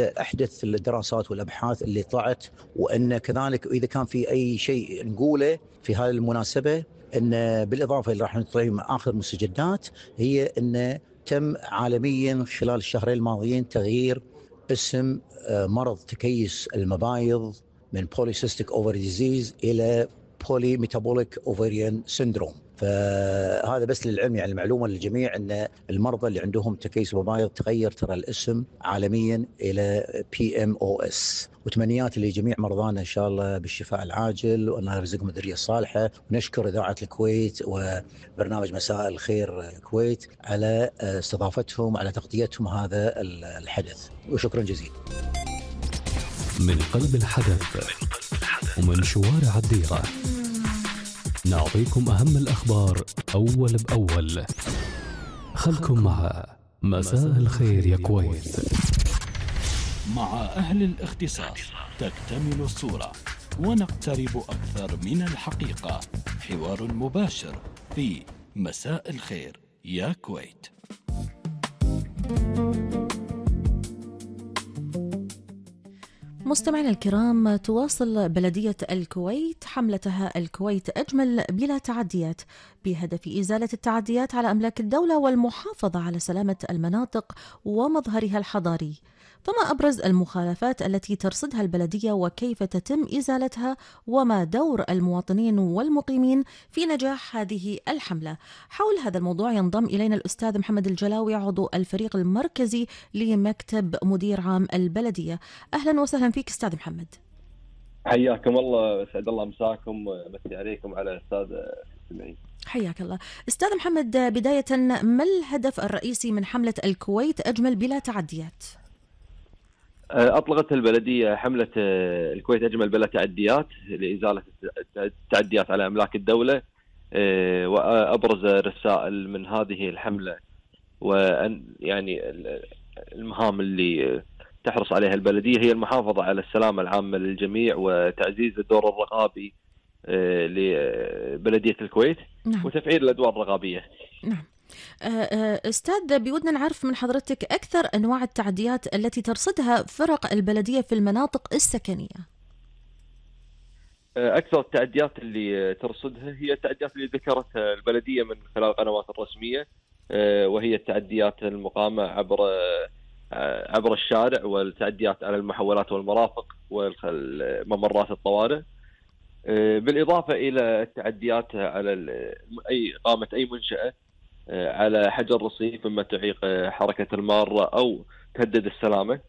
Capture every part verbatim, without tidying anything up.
أحدث الدراسات والأبحاث اللي طلعت، وأن كذلك إذا كان في أي شيء نقوله في هذه المناسبة، أن بالإضافة اللي راح نطلع مع آخر مستجدات، هي أن تم عالميا خلال الشهرين الماضيين تغيير اسم مرض تكيس المبايض من Polycystic Ovary Disease إلى Polymetabolic Ovarian Syndrome. فهذا بس للعلم، يعني المعلومة للجميع أن المرضى اللي عندهم تكيس مبايض تغير ترى الاسم عالميا إلى بي إم أو إس. وتمنيات لجميع مرضانا إن شاء الله بالشفاء العاجل، وأن يرزقهم الذرية الصالحة. ونشكر إذاعة الكويت وبرنامج مساء الخير الكويت على استضافتهم، على تغطيتهم هذا الحدث، وشكرا جزيلا. من قلب الحدث ومن شوارع الديرة نعطيكم أهم الأخبار أول بأول. خلكم مع مساء الخير يا كويت. مع أهل الاختصاص تكتمل الصورة ونقترب أكثر من الحقيقة. حوار مباشر في مساء الخير يا كويت. مستمعينا الكرام، تواصل بلدية الكويت حملتها الكويت أجمل بلا تعديات بهدف إزالة التعديات على أملاك الدولة والمحافظة على سلامة المناطق ومظهرها الحضاري. فما أبرز المخالفات التي ترصدها البلدية وكيف تتم إزالتها، وما دور المواطنين والمقيمين في نجاح هذه الحملة؟ حول هذا الموضوع ينضم إلينا الأستاذ محمد الجلاوي، عضو الفريق المركزي لمكتب مدير عام البلدية. أهلا وسهلا فيك أستاذ محمد. حياكم الله، سعد الله مساكم، مسي عليكم على أستاذ المستمعين. حياك الله أستاذ محمد. بداية، ما الهدف الرئيسي من حملة الكويت أجمل بلا تعديات؟ أطلقت البلدية حملة الكويت أجمل بلا تعديات لإزالة التعديات على أملاك الدولة. وأبرز رسائل من هذه الحملة وأن يعني المهام اللي تحرص عليها البلدية هي المحافظة على السلامة العامة للجميع وتعزيز الدور الرقابي لبلدية الكويت. نعم. وتفعيل الأدوار الرقابية. نعم. أستاذ، بودنا نعرف من حضرتك أكثر أنواع التعديات التي ترصدها فرق البلدية في المناطق السكنية. أكثر التعديات اللي ترصدها هي التعديات اللي ذكرتها البلدية من خلال القنوات الرسمية، وهي التعديات المقامة عبر عبر الشارع، والتعديات على المحولات والمرافق والممرات الطوارئ، بالإضافة إلى التعديات على أي قامة أي منشأة على حجر رصيف مما تعيق حركة المارة أو تهدد السلامة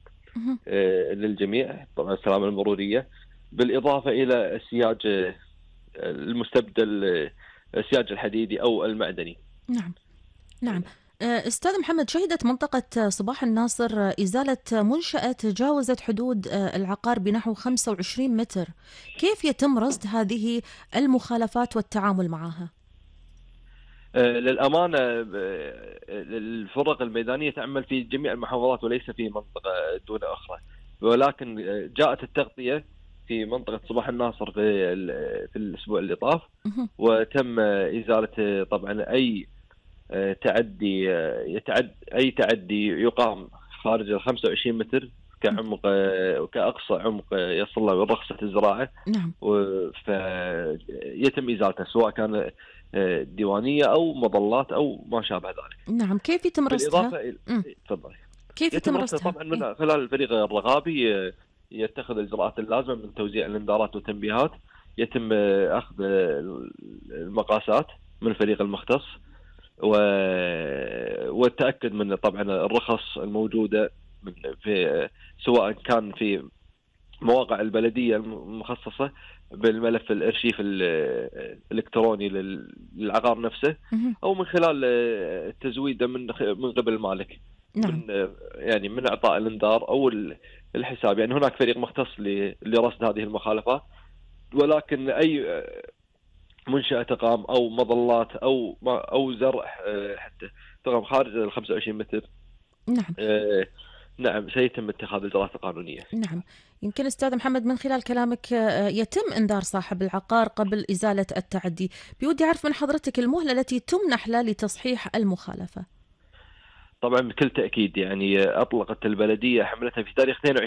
للجميع، طبعا السلامة المرورية، بالإضافة إلى السياج المستبدل، السياج الحديدي أو المعدني. نعم نعم. أستاذ محمد، شهدت منطقة صباح الناصر إزالة منشأة تجاوزت حدود العقار بنحو خمسة وعشرين متر. كيف يتم رصد هذه المخالفات والتعامل معها؟ للأمانة الفرق الميدانية تعمل في جميع المحافظات وليس في منطقة دون أخرى، ولكن جاءت التغطية في منطقة صباح الناصر في في الأسبوع اللي طاف، وتم إزالة طبعا أي تعدي يتعد أي تعدي يقام خارج ال خمسة وعشرين متر كعمق وكأقصى عمق يصل له رخصة الزراعة. نعم. فيتم إزالته سواء كان ديوانية أو مظلات أو ما شابه ذلك. نعم. كيف يتم رصدها؟ تفضلي. كيف يتم رصدها؟ طبعا من خلال الفريق الرقابي يتخذ الإجراءات اللازمة من توزيع الإنذارات والتنبيهات، يتم أخذ المقاسات من الفريق المختص، والتأكد من طبعا الرخص الموجودة في سواء كان في مواقع البلدية المخصصة بالملف الارشيف الالكتروني للعقار نفسه، او من خلال التزويد من من قبل المالك. نعم. من يعني من اعطاء الانذار او الحساب. يعني هناك فريق مختص لرصد هذه المخالفات، ولكن اي منشأة تقام او مظلات او او زرع حتى تقام خارج ال خمسة وعشرين متر، نعم آه نعم سيتم اتخاذ الإجراءات القانونية. نعم. يمكن أستاذ محمد من خلال كلامك يتم إنذار صاحب العقار قبل إزالة التعدي. بودي أعرف من حضرتك المهلة التي تمنح له لتصحيح المخالفة. طبعا بكل تأكيد يعني أطلقت البلدية حملتها في تاريخ اثنين وعشرين